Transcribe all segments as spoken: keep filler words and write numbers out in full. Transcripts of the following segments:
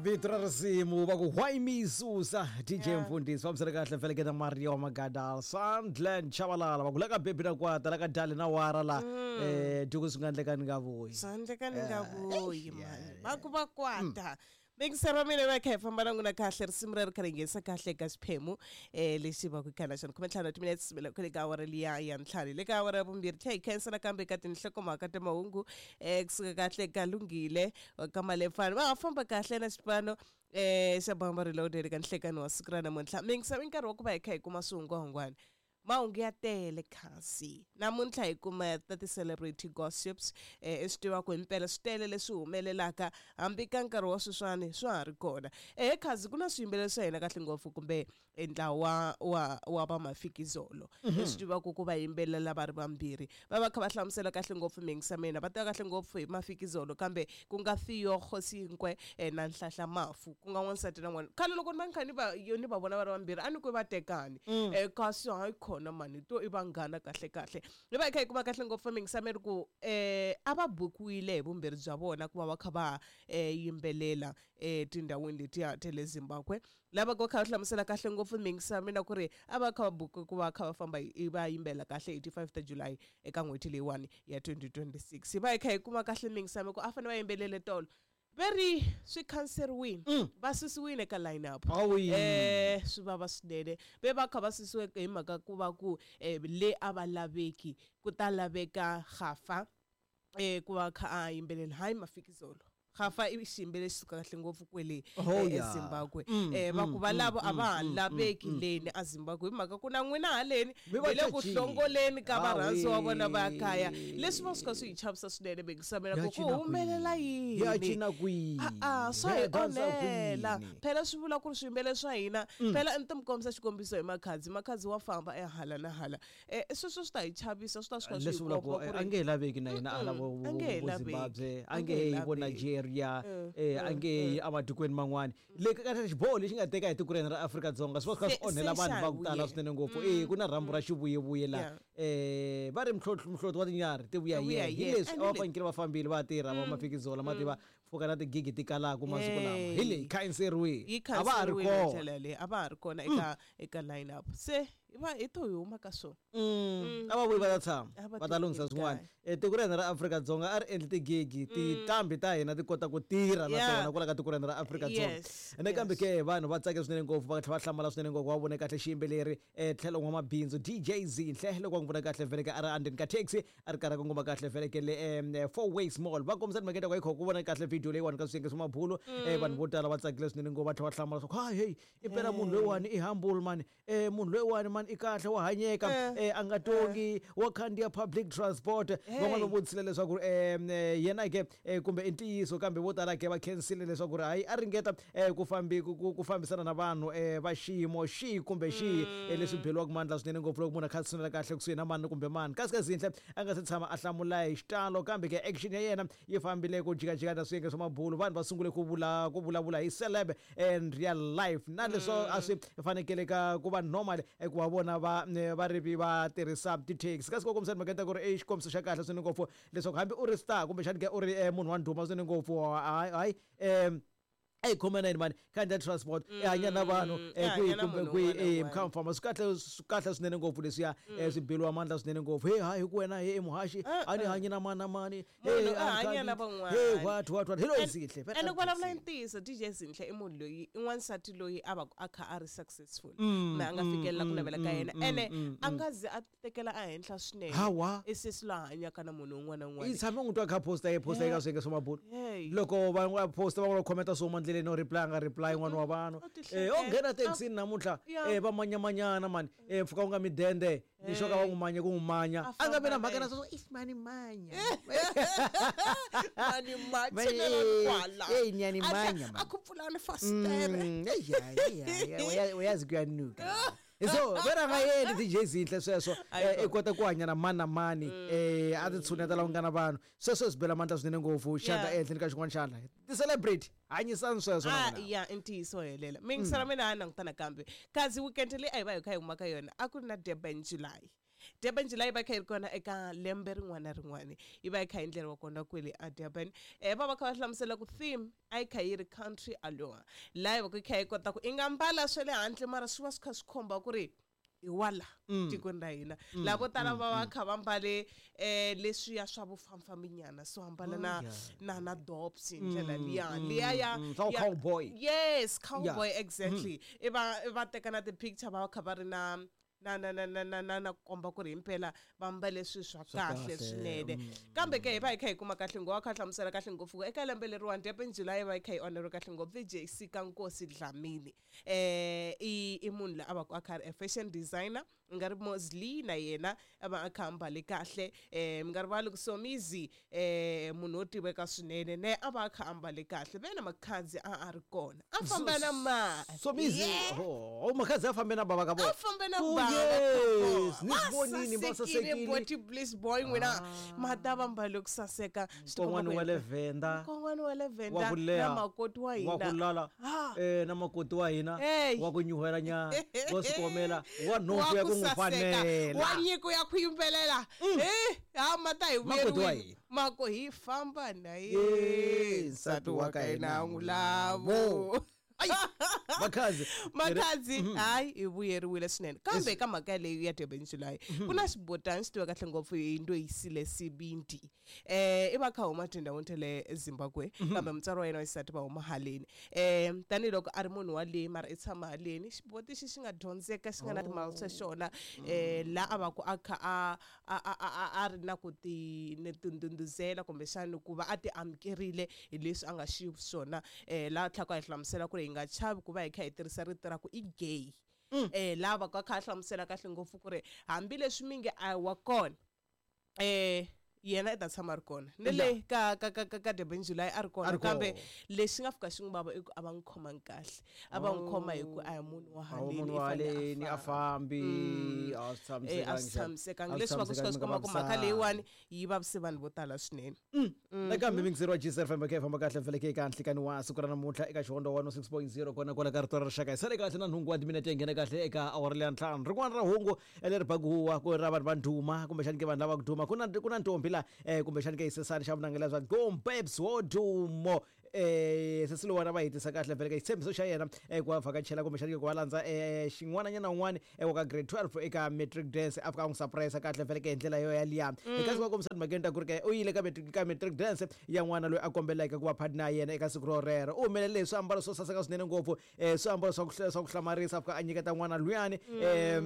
Vito ra risimu va ku why me susa D J Yeah. Mfundhisi fambisana kahle feleketa Maria wa Magadala Sandland Chabalala va ku la ka bebi na kwata la ka dali na wara la eh duku swi nga endleka ni nga vuyi. Swi endleka ni nga vuyi mani va ku va kwata. Mingisero mina va kha hi famba na n'wina kahle risimu reri kha ri nghenisa kahle ka xiphemu eh lexi va ku khana xona khume ntlhanu timinetse sivela kwale ka awara liya ya ntlhanu le ka awara ya vumbirhi tlhe hi khensa nakambe ka tinhlokomhaka ta mahungu eh kusuka kahle ka Lunghile ka Malefana va ha famba kahle na xipano eh xa Bamba Reloaded ka nhlekani wa siku ra namuntlha. Mingisa i nkarhi wa ku va hi kha hi kuma swihungwahungwana. Mahungu ya tele kasi namuntlha hi kuma ta ti-celebrity gossips eh i swi tiva ku himpela swi tele leswi humelelaka hambi ka nkarhi wa sweswiwani swa ha ri kona. Eh khazi ku na swiyimbeleri swa hina kahle ngopfu kumbe ntlawa wa wa va Mafikizolo i swi tivaka ku va yimbelela va ri vambirhi va va kha va hlamusela kahle ngopfu mingisa mina va tiva kahle ngopfu hi Mafikizolo kambe ku nga Theo Kgosinkwe na Nhlanhla Mafu ku nga n'wansati na n'wana khale loko ni va ni kha ni va yo ni va vona va ri vambirhi a ni ku va tekani eh kasi hayi khona mani to i vanghana kahle kahle hi va hi kha hi kuma kahle ngopfu mingisa mi ri ku eh a va bukiwile hi vumbirhi bya vona ku va va kha va eh yimbelela eh tindhawini letiya ta le Zimbabwe lava ku kha va hlamusela kahle ngopfu mingisa mina ku ri a va kha va buki ku va kha va famba hi va yimbela kahle hi ti five ta July eka n'hweti leyiwani ya twenty twenty-six hi va hi kha hi kuma kahle mingisa mi ku a fanele va yimbelele tolo veri swi khanseriwile va susiwile ka line up eh swi vava swinene ve va kha va susiwe hi mhaka ku va ku le a va laveki ku ta laveka Gafa eh ku va kha a yimbelela hayi Mafikizolo Gafa i xiyimbeleri xi suka kahle ngopfu kwele eZimbabwe eh va ku va lavo a va ha laveki leni a Zimbabwe hi mhaka ku na n'wina haleni hi le ku hlongoleni ka varhandzi wa vona va kaya leswi va suka swi hi chavisa swinene bengisamela ku ku humelela yini ya cina kwihi a a swa hi onhela phela swi vula ku ri swiyimbeleri swa hina phela ni ti mi kombisa xikombiso hi Makhadzi Makhadzi wa famba ehala na hala eh sweswo swi ta hi chavisa swi ta swi kha swi hi komba ku ri a nge he laveki na hina ala vo Zimbabwe a nge he vo Nigeria eh a nge yi ematikweni man'wani le ka xiboho lexi nga teka hi tiko ra Afrika-Dzonga swi va swi kha swi onhela vanhu va ku tala swinene ngopfu eh ku na rhambu ra xivuyevuye la eh va ri mhloti wa tinyarhi ti vuya hi hi leswi a va fanekele va fambile va tirha va Mafikizolo ma tiva pfuka na tigigi ti kalaka masiku lama hi leyi khanseriwile a va ha ri kona a va ha ri kona eka eka line up se va hi to hi huma ka swona a va vuyi va ta tshama va ta lunghisa swin'wana tiko ra hina ra Afrika-Dzonga a ri endli tigigi tinqambi ta hina ti kota ku tirha na tona kwala ka tiko ra hina ra Afrika-Dzonga ene kambe ke vanhu va tsake swinene ngopfu va tlhela va hlamala swinene ngopfu va vone kahle xiyimbeleri tlhelo n'wamabindzu D J Zinhle loko va n'wi vona kahle vhele ka a ri endzeni ka taxi a ri karhi a kongoma kahle vhele ke le Four Ways Mall va kombisa timhaka ta ku hi kho ku vona kahle video leyiwani ka swiyenge swa mabulu vanhu vo tala va tsakile swinene ngopfu va tlhela va hlamala swa ku hayi hey i pela munhu loyiwani i humble mani eh munhu loyiwani mani i kahle wa hanyeka eh a nga tongi wa khandziya public transport van'wana va vutisile leswaku eh yena ke kumbe i ntiyiso kambe vo tala ke va khensile leswaku ri hayi a ringeta ku fambi ku fambisana na vanhu va xiyimo xihi kumbe xihi leswi beliwaka mandla swinene ngopfu loko munhu a kha a tshunela kahle kusuhi na mani kumbe mani kasi ka Zinhle a nga se tshama a hlamula hi xitalo kambe ke action ya yena yi fambile ku jikajika na swiyenge swa mabulu vanhu va sungule ku vula ku vulavula hi celeb and real life na leswo a swi fanekele ka ku va normal ku va vona va va ri va tirhisa ti-taxi kasi ku kombisa timhaka ta ku ri i xikombiso xa kahle swinene ngopfu leswaku hambi u ri star kumbexani ke u ri munhu wa ndhuma swinene ngopfu hayi hayi um a khome na yini mani khandziya transport i hanya na vanhu kwihi kumbe kwihi mi kha mi famba swi kahle swi kahle swinene ngopfu leswiya swi beliwa mandla swinene ngopfu he hayi hi ku wena he i muhaxi a ni hanyi na mani na mani he hanya na van'wana he what what what hi loyi Zinhle ene ku vulavula i ntiyiso D J Zinhle i munhu loyi i n'wansati loyi a va a kha a ri successful na a nga fikelela ku navela ka yena ene a nga zi a tekela ehenhla swinene i sesi loyi a hanyaka na munhu un'wana na un'wana i tshame n'wi twa kha posta yi posta eka swiyenge swa mabulu loko va va posta va va commenta swo huma ndleleni no reply nga reply n'wana wa vanhu eh o nghena taxini namuntlha eh va manyamanyana mani eh mpfhuka wu nga midende ni xoka va n'wi manya ku n'wi manya a nga vi na mhaka na sweswo i mani manya mani manya kwala eh nyani manya a ku pfulani fastere eh uyazi kuyanuka so vera nga yeni D J Zinhle sweswo i kota ku hanya na mani na mani eh a ti tshuneta la ku nga na vanhu sweswo swi bela mandla swinene ngopfu xandla ehenhleni ka xin'wana xandla ti-celebrity hanyisani sweswo na ya i ntiyiso helela mingisela mina a langutana kambe kasi weekend leyi a hi va hi kha hi huma ka yona a ku ri na Durban July Durban July va kha yi ri kona eka lembe rin'wana na rin'wana yi va yi kha yi endleriwa kona kwele a Durban. Eh va va kha va hlamusela ku theme a yi kha yi ri country allure, laha yi va ku yi kha yi kota ku i nga mbala swa le handle mara swi va swi kha swi khomba ku ri hi wala tikweni ra hina. Lava vo tala va va kha va mbale eh leswiya swa vufambafambinyana, so ambala na na na dops hi ndlela liya liya ya cowboy. Yes, cowboy, exactly. I va va teka na ti-picture va va kha va ri na na na na na na na na komba ku ri himpela va mbale swilo swa kahle swinene. Kambe ke hi va hi kha hi kuma kahle ngopfu, kha hlamusela kahle ngopfu eka lembe leriwani Durban July va hi kha yi onheriwe kahle ngopfu V J C ka Nkosi Dlamini. Eh i i munhu la a va ku a kha ri a fashion designer, mi nga ri Mosley na yena a va a kha ambale kahle. Eh mi nga rivali ku Somizi eh munhu wo tiveka swinene ne a va a kha ambale kahle, ve na Makhadzi a a ri kona a famba na mali. Somizi oh Makhadzi a fambe na baba ka bona, a fambe na baba. Yes, nisibonini basasekile body bliss boy n'wina mata va mbale ku saseka. Nkon'wana wa le Venda, nkon'wana wa le Venda na makoti wa hina wa ku lala eh na makoti wa hina wa ku nyuhela nyana wa swikomela wa nhompfu ya ku n'wi fanela wa nyiko ya ku yimbelela eh ha mata hi vuyeriwile mako hi famba na ye nsati wa ka hina n'wi lavo. Makhadzi Makhadzi hayi hi vuyeriwile swinene. Kambe ka mhaka leyi ya Durban July ku na xibotani xi tiveka kahle ngopfu hi Ndoyisile Sibindi. Eh i va kha huma tindhawini ta le Zimbabwe, kambe mutswari wa yena wa xisati va huma haleni. Eh tanihiloko a ri munhu wa le mara i tshama haleni, xiboti xi xi nga dyondzeka xi nga na timali swa xona eh la a va ku a kha a a a a ri na ku ti tindhundhuzela kumbexana ku va a ti amukerile hi leswi a nga xiswona. Eh la tlhaka hi hlamusela ku ri hi nga chavi ku va hi kha hi tirhisa rito ra ku i gay. Eh lava ka kha hlamusela kahle ngopfu ku ri hambileswi mingi a wa kona eh yena i ta tshama ri kona ni le ka ka ka ka Durban July a ri kona, kambe lexi nga fika xi n'wi vava i ku a va n'wi khomangi kahle, a va n'wi khoma hi ku a hi munhu wa haleni i a fambi a swi tshamisekanga. Leswi va ku swi kha swi komba ku mhaka leyiwani yi vavise vanhu vo tala swinene. Nakambe mingiseri wa G S F M khe famba kahle mfeleke eka nhlikani wa siku ra namuntlha eka Xihondzo one oh six point zero kona kwala ka rito ra rixaka. Hi sale kahle na nhungu wa timinete yi nghena kahle eka awara leya ntlhanu. Rin'wana ra hungu leri baku huwa ku ra vanhu va ndhuma kumbexani ke vanhu lava ku duma ku na ku na ntombi la eh kumbexani ke isesani xa vunangela bya Gombebs Wodumo. Eh sesi lowani va hetisa kahle vhele ka xitshembiso xa yena ku va vhakachela kumbexani ke ku va landza eh xin'wananyana un'wana wa ka grade twelve eka matric dance a fika a n'wi surprise kahle vhele ke hi ndlela yo yaliya. Eka siku va kombisa timhakeni ta ku ri ke u yile ka matric ka matric dance ya n'wana loyi a kombelaka ku va partner ya yena eka siku ro rero. U humelele hi swiambalo swo saseka swinene ngopfu, eh swiambalo swa ku swa ku hlamarisa a fika a nyiketa n'wana luyani eh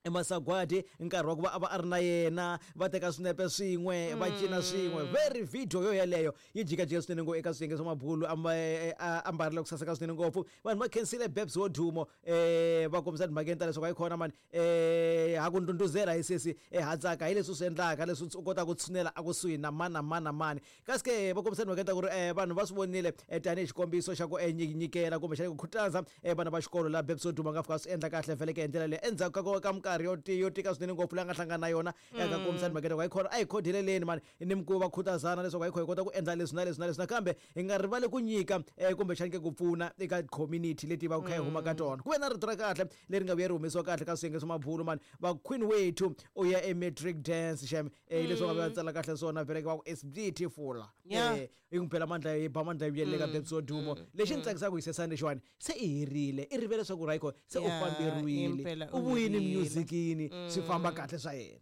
emasagwadi nkarhi wa ku va a va a ri na yena va teka swinepe swin'we va cina swin'we. Very video yo yeleyo yi jikajika swinene ngopfu eka swiyenge swa mabulu a ambarile ku saseka swinene ngopfu. Vanhu va khensile Babs Wodumo eh va kombisa timhakeni ta leswaku a yi kona mani eh ha ku ndhundhuzela hi sesi ha tsaka hi leswi u swi endlaka leswi u kotaka ku tshunela a kusuhi na mani na mani na mani. Kasi ke va kombisa timhakeni ta ku ri vanhu va swi vonile tanihi xikombiso xa ku nyikela kumbexana ku khutaza vana va xikolo la Babs Wodumo a nga fika swi endla kahle vhele ke hi ndlela leyi endzhaku ka ka minkarhi yo yo tika swinene ngopfu leyi a nga hlangana na yona eka kombisa timhakeni ta ku a hi khodeleleni mani ni ku va khutazana leswaku a hi kho hi kota ku endla leswi na leswi na leswi nakambe hi nga rivali ku nyika kumbexani ke ku pfuna eka community leti va ku kha hi huma ka tona. Ku ve na rito ra kahle leri nga vuya ri humesiwa kahle ka swiyenge swa mabulu mani va Queen wethu u ya ematric dance xem leswi va nga tsala kahle swona vhele va ku it's beautiful eh yi n'wi phela mandla yi ba mandla yi vuyelele ka Babs Wodumo. Lexi ni tsakisaka hi sesani lexiwani se i herile i rivele leswaku right se u famberiwile u vuyini musicini swi famba kahle swa yena.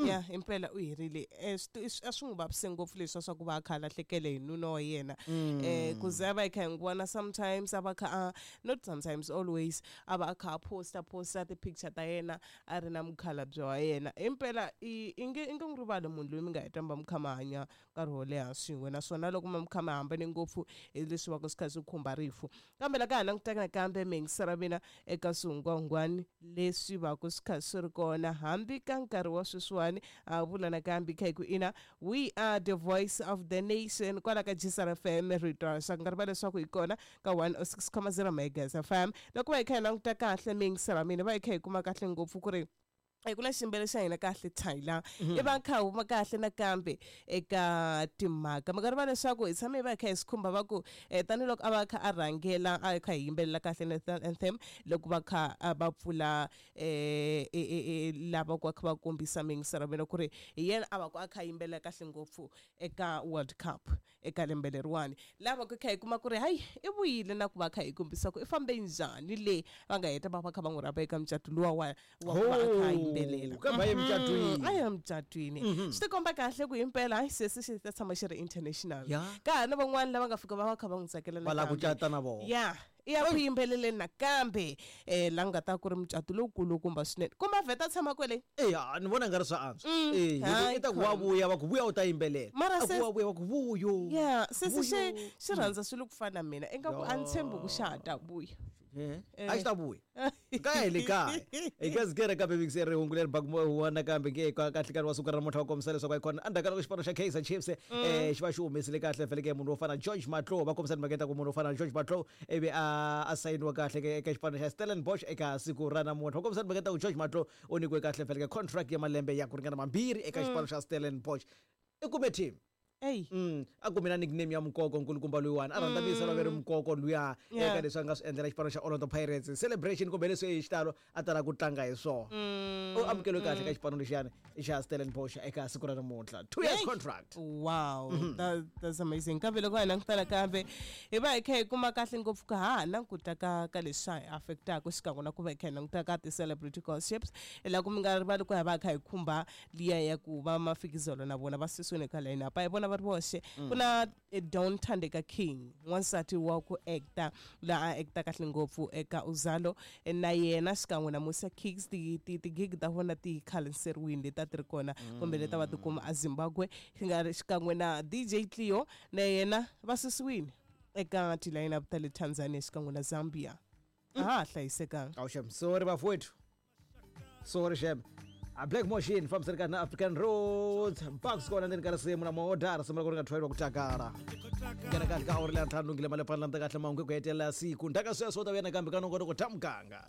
Ya impela u herile a swi n'wi vavise ngopfu leswi swa ku va a kha a lahlekele hi nuna wa yena eh ku za va hi kha hi n'wi vona sometimes a va kha not sometimes always a va a kha a posta posta ti-picture ta yena a ri na mukhalabye wa yena. Impela i nge i nge n'wi rivali munhu loyi mi nga heta mi va mi kha mi hanya nkarhi wo leha swin'we naswona loko mi kha mi hambane ngopfu hi leswi va ku swi kha swi khumba rifu. Kambe la ka ha langutaka nakambe miyingisera mina eka swihungwahungwani leswi va ku swi kha swi ri kona hambi ka nkarhi wa sweswiwani a vula nakambe kha hi ku ina we are the voice of the nation kwala ka G S R F M rito ra rixaka. Nga rivali leswaku hi kona ka one oh six point zero megahertz F M. Loko va hi kha hi languta kahle miyingisera mina va hi kha hi kuma kahle ngopfu ku ri Ku na ximbele xa hina kahle Tyler i va kha huma kahle nakambe eka timhaka mi nga rivala leswaku hi tshame hi va hi kha hi swi khumba va ku tanihiloko a va kha a rhangela a kha hi yimbelela kahle national anthem loko va kha va pfula lava ku va kha va kombisa mingiselo mina ku ri hi yena a va ku a kha yimbelela kahle ngopfu eka World Cup eka lembe leriwani lava ku kha hi kuma ku ri hayi i vuyile na ku va kha hi kombisa ku i fambe njhani le va nga heta va va kha va n'wi rhamba eka mucato luwa wa wa ku va a kha yimbelela kambe a ye mucatwini a ya mucatwini swi tikomba kahle ku himpela hayi sesi xi ta tshama xi ri international ka ha na van'wani lava nga fika va va kha va n'wi tsakela va lava ku cata na vona ya i ya ku yimbeleleni nakambe um la nga ta ku ri mucato lowukulukumba swinene kumbe a vheta tshama kwele eya ni vona nga ri swa antswa e i ta ku wa vuya va ku vuya u ta yimbelela mara ku wa vuya va ku vuyo ya sesi xi xi rhandza swilo ku fana na mina ingaku a ni tshembi ku xa ha ta vuya a xi ta vuya kaya hi le kaya hi ka zikere kambe mikiseri hungu leri baku nakambe ke kahle karhi wa siku ra namuntlha wa kombisa leswaku a kona endzhaku ka loko xipano xa Kaizer Chiefs eh xi va xi humesile kahle feleke munhu wo fana George Matlou va kombisa timhaka ta ku munhu wo fana George Matlou ivi a a sayiniwa kahle eka xipano xa Stellenbosch eka siku ra namuntlha va kombisa timhaka ta ku George Matlou u nyikiwe kahle feleke contract ya malembe ya ku ringana mambirhi eka xipano xa Stellenbosch i kume team. Ey. Mm, a kume na nickname ya Mukoko nkulukumba luyiwani a rhandza vuyisela ve ri Mukoko luya eka leswi a nga swi endlela xipano xa Orlando Pirates celebration kumbe leswi hi xitalo a tala ku tlanga hi swona u amukeliwe kahle ka xipano lexiyani xa Stellenbosch eka siku ra namuntlha two years contract. Wow, that, that's amazing. Kambe loko hi langutana kambe hi va hi kha hi kuma kahle ngopfu ka ha languta ka ka leswi hi affectaka xikan'we na ku va hi kha hi languta ka ti-celebrity gossips la ku mi nga rivali ku hi va hi kha hi khumba liya ya ku va mafikizolo na vona va susiwile ka line up a hi vona va ri voxe ku na Don Thandeka King n'wansati wa ku acta laha a acta kahle ngopfu eka Uzalo na yena xikan'we na Musa Kicks ti ti ti-gig ta vona ti khanseriwile leti a ti ri kona kumbe leti a va tikuma a Zimbabwe xikan'we na D J Cleo na yena va susiwile eka ti-line up ta le Tanzania xikan'we na Zambia a ha hlayisekanga. Awu shem, sorry bafowethu, sorry shem. A Black Machine fambisana kahle na African Roads Bucks kona ndzeni ka risimu na maodara risimu ra ku ri nga thweriwa ku takala nghena kahle ka awuri leya ntlhanu lunghile mali phandla kahle mahungu ku hetelela siku ndhaka sweswo u ta vuya nakambe ka nongonoko ta muganga.